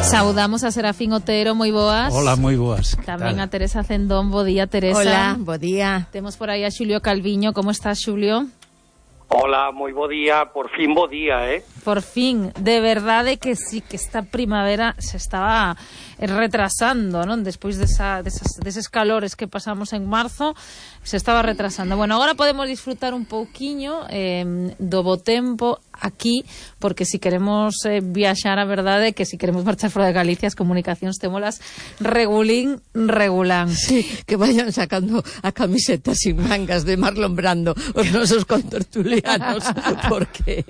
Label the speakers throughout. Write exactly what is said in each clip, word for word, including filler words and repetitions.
Speaker 1: Saudamos a Serafín Otero, moi boas.
Speaker 2: Hola, moi boas.
Speaker 1: Tamén a Teresa Cendón, bo día, Teresa.
Speaker 3: Hola, bo día.
Speaker 1: Temos por aí a Xulio Calviño, como estás, Xulio?
Speaker 4: Hola, moi bo día, por fin bo día, eh?
Speaker 1: Por fin, de verdade que sí, que esta primavera se estaba retrasando, non? Despois desa, desas, deses calores que pasamos en marzo, se estaba retrasando. Bueno, agora podemos disfrutar un pouquiño eh, do bo tempo aquí, porque si queremos eh, viaxar, a verdade que si queremos marchar fora de Galicia, as comunicacións témolas regulín, regulán.
Speaker 3: Sí, que vayan sacando a camiseta sin mangas de Marlon Brando os nosos contertulianos, porque...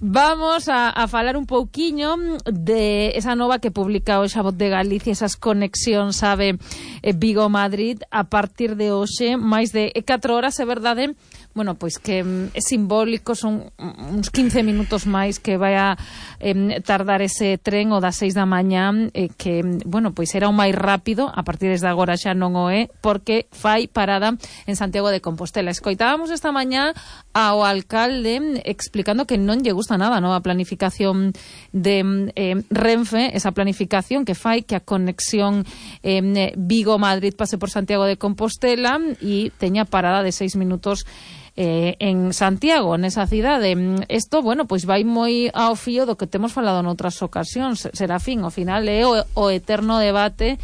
Speaker 1: Vamos a, a falar un pouquiño de esa nova que publica hoxe a Voz de Galicia, esas conexións, sabe, eh, Vigo-Madrid, a partir de hoxe, máis de catro horas, é verdade. Bueno, pois que é simbólico, son uns quince minutos máis que vai a eh, tardar ese tren o das seis da mañá, eh, que, bueno, pois era o máis rápido, a partir desde agora xa non o é, porque fai parada en Santiago de Compostela. Escoitábamos esta mañá ao alcalde explicando que non lle gusta nada a nova planificación de eh, Renfe, esa planificación que fai que a conexión eh, Vigo-Madrid pase por Santiago de Compostela e teña parada de seis minutos Eh, en Santiago, nesa cidade. Isto, bueno, pois vai moi ao fío do que temos falado noutras ocasións, Serafín, ao final é o, o eterno debate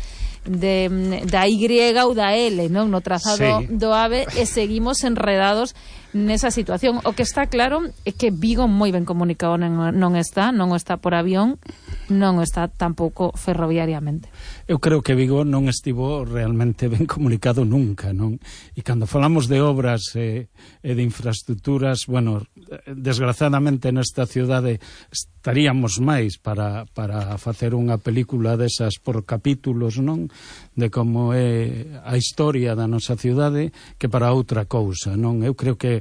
Speaker 1: de, da Y ou da L, non? No trazado sí. do AVE, e seguimos enredados nesa situación. O que está claro é que Vigo moi ben comunicado non, non está, non está por avión, non está tampouco ferroviariamente.
Speaker 2: Eu creo que Vigo non estivo realmente ben comunicado nunca, non? E cando falamos de obras e, e de infraestructuras, bueno, desgraciadamente nesta cidade estaríamos máis para, para facer unha película desas por capítulos, non? De como é a historia da nosa cidade que para outra cousa, non? Eu creo que,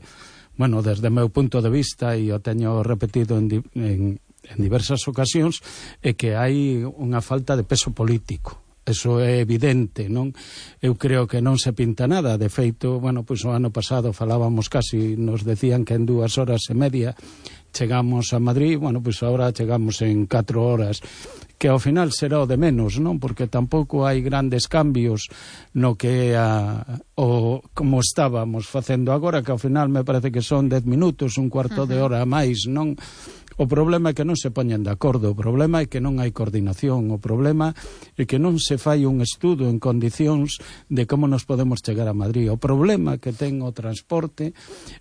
Speaker 2: bueno, desde o meu punto de vista, e o teño repetido en, en en diversas ocasións, é que hai unha falta de peso político. Eso é evidente, non? Eu creo que non se pinta nada. De feito, bueno, pois o ano pasado falábamos casi, nos decían que en dúas horas e media chegamos a Madrid, bueno, pois agora chegamos en catro horas, que ao final será o de menos, non? Porque tampouco hai grandes cambios no que é a, o como estábamos facendo agora, que ao final me parece que son dez minutos, un cuarto uh-huh. de hora a máis, non? O problema é que non se poñen de acordo, o problema é que non hai coordinación, o problema é que non se fai un estudo en condicións de como nos podemos chegar a Madrid. O problema que ten o transporte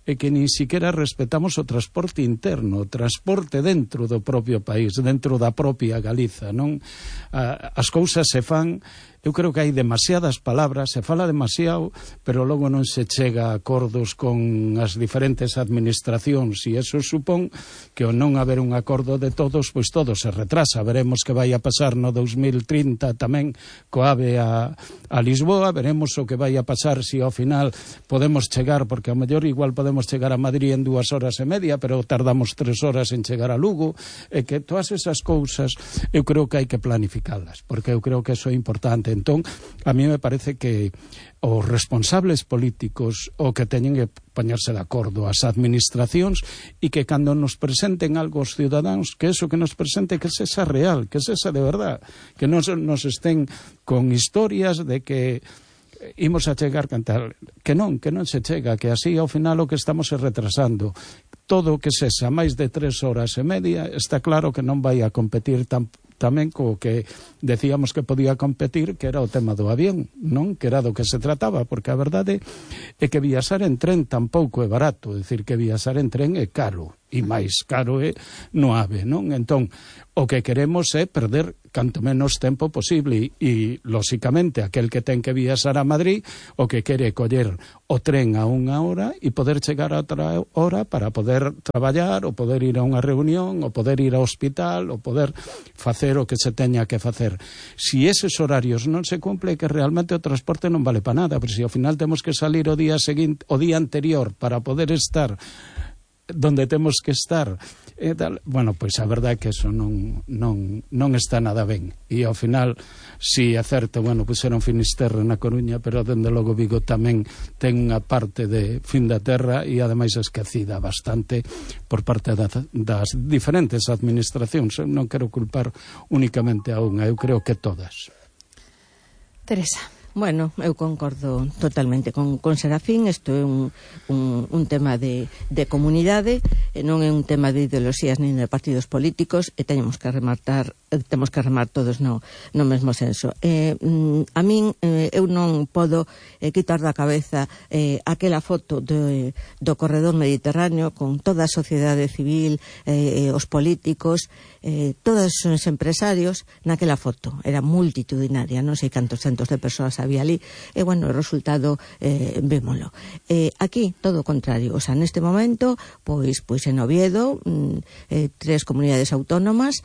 Speaker 2: é que nin siquiera respetamos o transporte interno, o transporte dentro do propio país, dentro da propia Galiza, non? As cousas se fan... Eu creo que hai demasiadas palabras, se fala demasiado, pero logo non se chega a acordos con as diferentes administracións, e eso supón que ao non haber un acordo de todos, pois todo se retrasa. Veremos que vai a pasar no dos mil trinta tamén co AVE a, a Lisboa, veremos o que vai a pasar se ao final podemos chegar, porque ao mellor igual podemos chegar a Madrid en dúas horas e media, pero tardamos tres horas en chegar a Lugo, e que todas esas cousas eu creo que hai que planificalas, porque eu creo que eso é importante. Entón, a mí me parece que os responsables políticos o que teñen que poñerse de acordo as administracións, e que cando nos presenten algo os ciudadanos, que eso que nos presente que sexa real, que sexa de verdad, que non nos estén con historias de que imos a chegar cantar, que non, que non se chega, que así ao final o que estamos é retrasando. Todo o que sexa máis de tres horas e media está claro que non vai a competir tan tamén co que decíamos que podía competir, que era o tema do avión, non? Que era do que se trataba, porque a verdade é que viaxar en tren tampouco é barato, é dicir, que viaxar en tren é caro, e máis caro é no AVE, non? Entón, o que queremos é perder canto menos tempo posible, e, lóxicamente, aquel que ten que viaxar a Madrid, o que quere coller o tren a unha hora e poder chegar a outra hora para poder traballar, ou poder ir a unha reunión, ou poder ir ao hospital, ou poder facer o que se teña que facer. Si eses horarios non se cumple, que realmente o transporte non vale para nada, pero se ao final temos que salir o día seguinte, o día anterior para poder estar donde temos que estar, e tal. Bueno, pois a verdade é que eso non, non, non está nada ben, e ao final, si é certo, bueno, puseron Finisterre na Coruña, pero dende logo Vigo tamén ten unha parte de fin da terra e ademais esquecida bastante por parte da, das diferentes administracións. Eu non quero culpar únicamente a unha, eu creo que todas.
Speaker 1: Teresa.
Speaker 3: Bueno, eu concordo totalmente con, con Serafín. Isto é un, un, un tema de, de comunidade, e non é un tema de ideoloxías nin de partidos políticos, e teñemos que rematar, temos que remar todos no, no mesmo senso. Eh, a min, eh, eu non podo eh, quitar da cabeza eh, aquela foto de, do corredor mediterráneo con toda a sociedade civil, eh, os políticos, eh, todos os empresarios naquela foto. Era multitudinaria, non sei cantos centos de persoas había ali, e bueno, o resultado eh, vémolo. Eh, aquí, todo o contrario, o sea, neste momento, pois, pois en Oviedo, mm, eh, tres comunidades autónomas,